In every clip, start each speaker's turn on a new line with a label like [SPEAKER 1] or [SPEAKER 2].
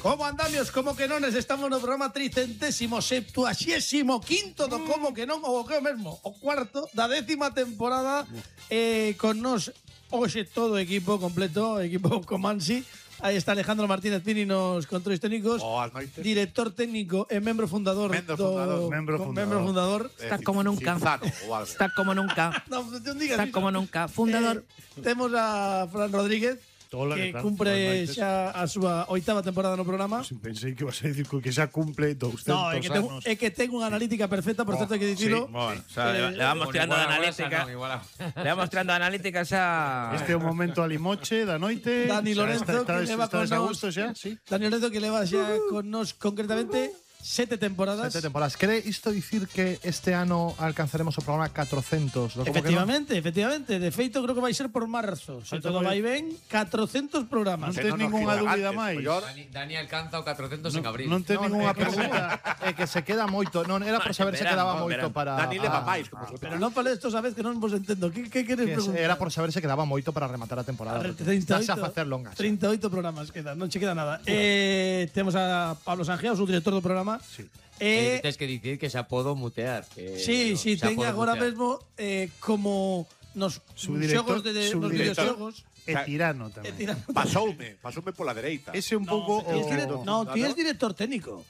[SPEAKER 1] Como andamios, como que non, estamos no programa 375º do Como que non, ou o que o mesmo, o cuarto da 10ª temporada, con nos hoxe todo o equipo completo, equipo Comansi. Aí está Alejandro Martínez Pini nos controles técnicos, director técnico e membro fundador
[SPEAKER 2] Membro fundador.
[SPEAKER 3] Está como nunca. Está como nunca.
[SPEAKER 1] No, non digas
[SPEAKER 3] Está
[SPEAKER 1] iso.
[SPEAKER 3] como nunca. Fundador.
[SPEAKER 1] Temos a Fran Rodríguez, que cumpre xa a súa 8ª temporada no programa.
[SPEAKER 2] Pensei que ibas a decir que xa cumple 200
[SPEAKER 1] No,
[SPEAKER 2] anos.
[SPEAKER 1] é que ten unha analítica perfecta, por certo, hai que dicilo.
[SPEAKER 3] Bueno, o sea, le vamos tirando de analítica. Le vamos tirando de analítica xa.
[SPEAKER 2] Este é o momento alimoche da noite.
[SPEAKER 1] Dani Lorenzo, que leva con
[SPEAKER 2] a
[SPEAKER 1] nos.
[SPEAKER 2] gusto xa, sí.
[SPEAKER 1] Dani Lorenzo, que leva xa con nos concretamente 7 temporadas.
[SPEAKER 4] 7 temporadas. Quere isto dicir que este ano alcanzaremos o programa 400?
[SPEAKER 1] Efectivamente. De feito, creo que vai ser por marzo. Se todo vai ben, 400 programas.
[SPEAKER 2] Non tes ningunha dúbida máis.
[SPEAKER 5] Dani alcanza o 400 en abril.
[SPEAKER 2] Non tes ningunha
[SPEAKER 4] pregunta. É que se queda moito. Non, era por saber se quedaba moito para.
[SPEAKER 6] Dani leva máis.
[SPEAKER 1] Pero non fales esto, sabes que non vos entendo. Que queres preguntar?
[SPEAKER 4] Era por saber se quedaba moito para rematar a temporada.
[SPEAKER 1] 38,
[SPEAKER 4] Dase a facer longas.
[SPEAKER 1] 38 programas quedan, non che queda nada. Temos a Pablo Sanjeao, o director do programa.
[SPEAKER 2] Sí.
[SPEAKER 5] Tens que dicir que xa podo mutear.
[SPEAKER 1] Sí, ten agora mesmo como nos xogos de nos videoxogos.
[SPEAKER 2] E tirano tamén.
[SPEAKER 6] Pasoume pola dereita.
[SPEAKER 2] Ese un pouco
[SPEAKER 1] No, ti és director técnico.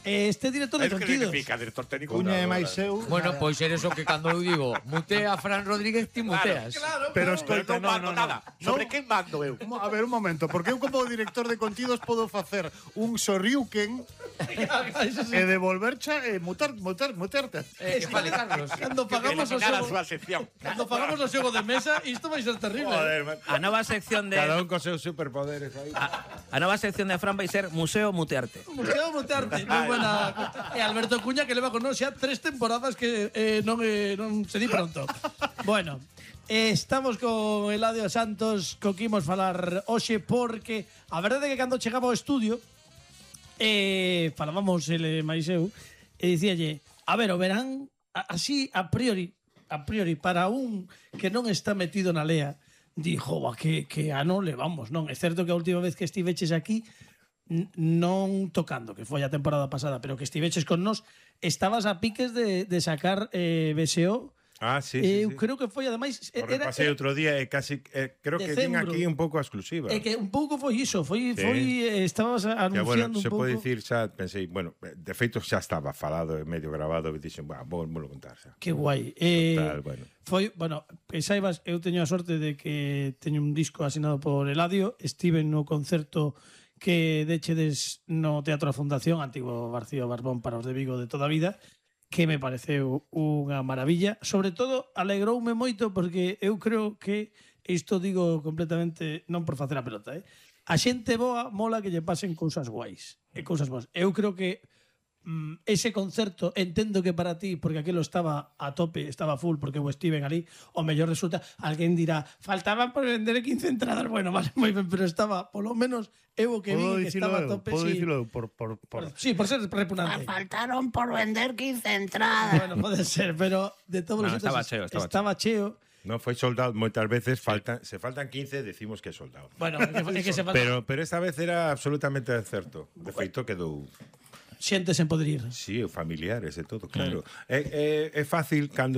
[SPEAKER 1] Este director de
[SPEAKER 6] ¿Qué
[SPEAKER 1] contidos.
[SPEAKER 6] significa director técnico?
[SPEAKER 4] Cuña e máis eu.
[SPEAKER 5] Bueno, pois eres o que cando eu digo mutea a Fran Rodríguez, ti muteas.
[SPEAKER 2] Pero escoita,
[SPEAKER 6] non mando nada. Sobre quen mando eu?
[SPEAKER 2] A ver, un momento, porque eu como director de contidos podo facer un sorriuken e devolvercha e mutarte.
[SPEAKER 5] Que fale, Carlos.
[SPEAKER 1] Cando pagamos o
[SPEAKER 6] Eliminar a
[SPEAKER 1] xogo,
[SPEAKER 6] súa sección.
[SPEAKER 1] cando pagamos o xogo de mesa, isto vai ser terrible.
[SPEAKER 3] A nova sección de.
[SPEAKER 7] Cada un con seus superpoderes aí.
[SPEAKER 3] A nova sección de Fran vai ser Museo Mutearte.
[SPEAKER 1] Museo Mutearte, moi buena. E Alberto Cuña, que leva con nós xa 3 temporadas que non se di pronto. Bueno, estamos con Eladio Santos, co que imos falar hoxe, porque a verdade é que cando chegaba ao estudio falábamos ele máis eu e dicíalle, a ver, o verán así a priori para un que non está metido na lea, dixo, que ano levamos, non? É certo que a última vez que estiveches aquí non tocando, que foi a temporada pasada, pero que estiveches con nós, estabas a piques de sacar BSO.
[SPEAKER 7] Sí.
[SPEAKER 1] Eu creo que foi, ademais,
[SPEAKER 7] o repasei outro día e casi creo que din aquí un pouco a exclusiva.
[SPEAKER 1] É que un pouco foi iso, estabas anunciando un
[SPEAKER 7] se
[SPEAKER 1] pouco.
[SPEAKER 7] pode dicir xa, pensei, bueno, de feito xa estaba falado e medio grabado e dixen, vou contar xa.
[SPEAKER 1] Que guai.
[SPEAKER 7] Total,
[SPEAKER 1] Bueno, que saibas, eu teño a sorte de que teño un disco asinado por Eladio, estive no concerto que dechedes no Teatro da Fundación, antigo Barcío Barbón para os de Vigo de toda a vida, que me pareceu unha maravilla. Sobre todo, alegroume moito porque eu creo que, isto digo completamente, non por facer a pelota, a xente boa mola que lle pasen cousas guais e cousas boas. Eu creo que ese concerto, entendo que para ti, porque aquilo estaba a tope, estaba full, porque eu estiven ali, o mellor resulta, alguén dirá, faltaban por vender 15 entradas, bueno, vale, moi ben, pero estaba, polo menos, eu o que vi que estaba a tope.
[SPEAKER 2] Podo dicilo eu,
[SPEAKER 1] Sí, por ser repugnante.
[SPEAKER 3] Faltaron por vender 15 entradas.
[SPEAKER 1] Bueno, pode ser, pero de todos os xeitos estaba cheo.
[SPEAKER 7] Non foi soldado, moitas veces se faltan 15, decimos que é soldado.
[SPEAKER 1] Bueno, é que se falta.
[SPEAKER 7] Pero esta vez era absolutamente certo. De feito quedou
[SPEAKER 1] xente sen poder ir.
[SPEAKER 7] Sí, familiares e todo, claro. É fácil cando